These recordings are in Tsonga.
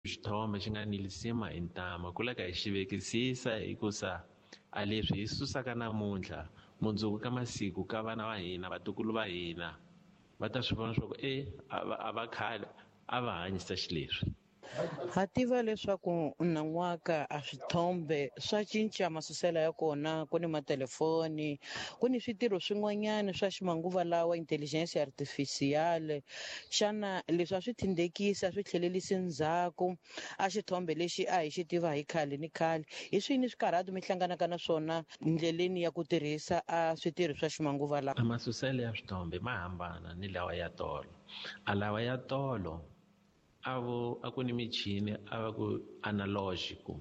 Xithombe xi nga ni lisima hi ntama ku leka hi xi vekisisa hikusa a leswi hi susaka namuntlha mundzuku ka masiku ka vana va hina vatukulu va hina va ta swi vona swa ku e a va khale a va hanyisa xileswi. Ha tiva leswaku nan'waka a swithombe swa cinca masuselo ya kona, ku ni matelefoni, ku ni switirho swin'wanyana swa ximanguva lawa, intelligence artificial. Xana leswi a swi thindhekisi, a swi tlhelelisi ndzhaku a xithombe lexi a hi xi tiva hi khale ni khale? Hi swini swikarhato mi hlanganaka na swona ndleleni ya ku tirhisa a switirho swa ximanguva lawa? A masuselo ya swithombe ma hambana ni lawa ya tolo. A lawa ya tolo a vo a ku ni michini a va ku analogical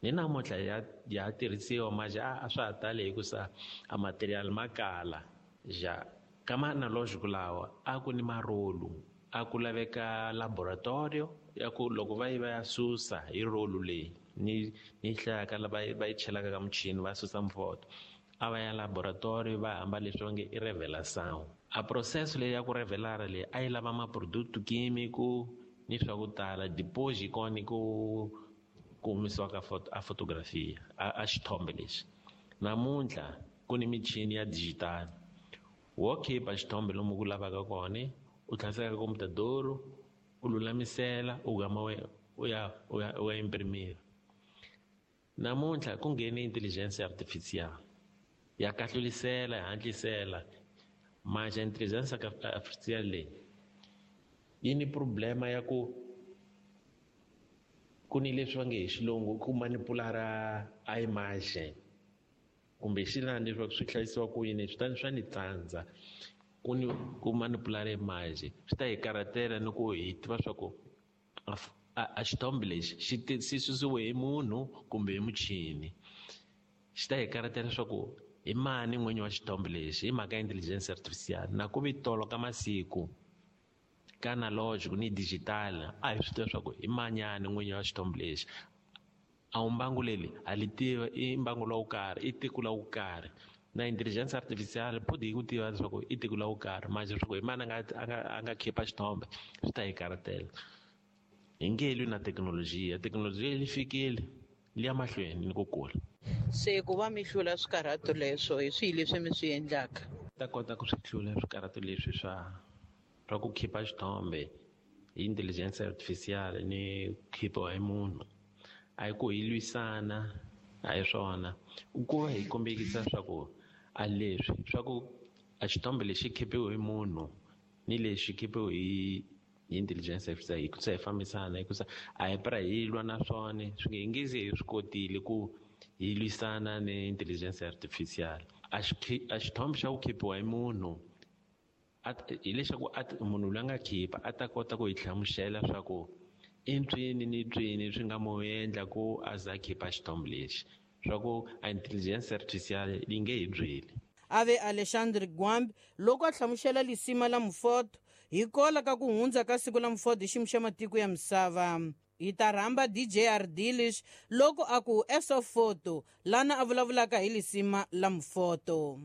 ni namuntlha ya ya tirhisiwa manje a swa ha tali hikusa a material ma kala ja ka ma analogical lawa a ku ni marolu a ku laveka laboratorio ya ku loko va yi va ya susa hi rolu leyi ni ni hlayaka va yi chelaka ka muchini va susa mfoto a va ya laboratory va hamba leswi va nge i revelação a processo leyi ya ku revelara leyi a yi lava ma-product químico ni swa ku tala deposit kona ku ku humesiwa ka a fotografia a xithombe lexi. Namuntlha ku ni michini ya digital wo khipa xithombe lomu ku lavaka kona u tlhaseka ka computador u lulamisela u gama u ya u ya u ya imprimira. Namuntlha ku nghene intelligence artificial ya kahlulisela ya hatlisela manje intelligence artificial leyi yi ni problema ya ku ku ni leswi va nge hi xilungu ku manipulara a image kumbe xilani leswaku swi hlayisiwa ku yini swi ta swa ni tsandza ku ni ku manipulara image swi ta hi karhatela ni ku hi tiva swa ku a xithombe lexi xi xi susiwe hi munhu kumbe hi muchini. Xi ta hi karhatela leswaku hi mani n'winyi wa xithombe lexi hi mhaka ya intelligence artificial na ku vi tolo ka masiku ka analogic ni digital a hi swi tiva leswaku i manyani n'winyi wa xithombe lexi. A wu mbangu leri ha li tiva i mbangu lowu karhi i tiko la wu karhi na intelligence artificial phodi yi ku tiva leswaku i tiko la wu karhi manje leswaku hi mani a nga khipa xithombe swi ta hi karhatela. Hi nge lwi na thekinolojiya, thekinolojiya yi fikile li ya mahlweni ni ku kula. Se ku va mi hlula swikarhato leswo hi swihi leswi mi swi endlaka? Ta kota ku swi hlula swikarhato leswi swa ku khipa xithombe hi intelligence artificial ni khipiwa hi munhu. A hi ku hi lwisana a hi swona ku va hi kombekisa swa ku a leswi swa ku a xithombe lexi khipiwe hi munhu ni lexi khipiwe hi intelligence artificial hi ku hi fambisana hikusa a hi pra hi lwa na swona swi nge hi nge ze hi swi kotile ku hi lwisana ni intelligence artificial. A xithombe xa ku khipiwa hi munhu hileswaku munhu loyi a nga khipa a ta kota ku hi hlamusela swa ku i ntswini ni ntswini swi nga mo endla ku a za a khipa xithombe lexi swa ku a intelligence artificial yi nge hi byeli. Ave Alexandre Gwambi loko a hlamusela lisima la mufoto hi kola ka ku hundza ka siku la mufoto hi xiyimo xa matiko ya misava. Hi ta rhamba DJ Ardilish loko a ku SO Photo lana a vulavulaka hi lisima la mufoto.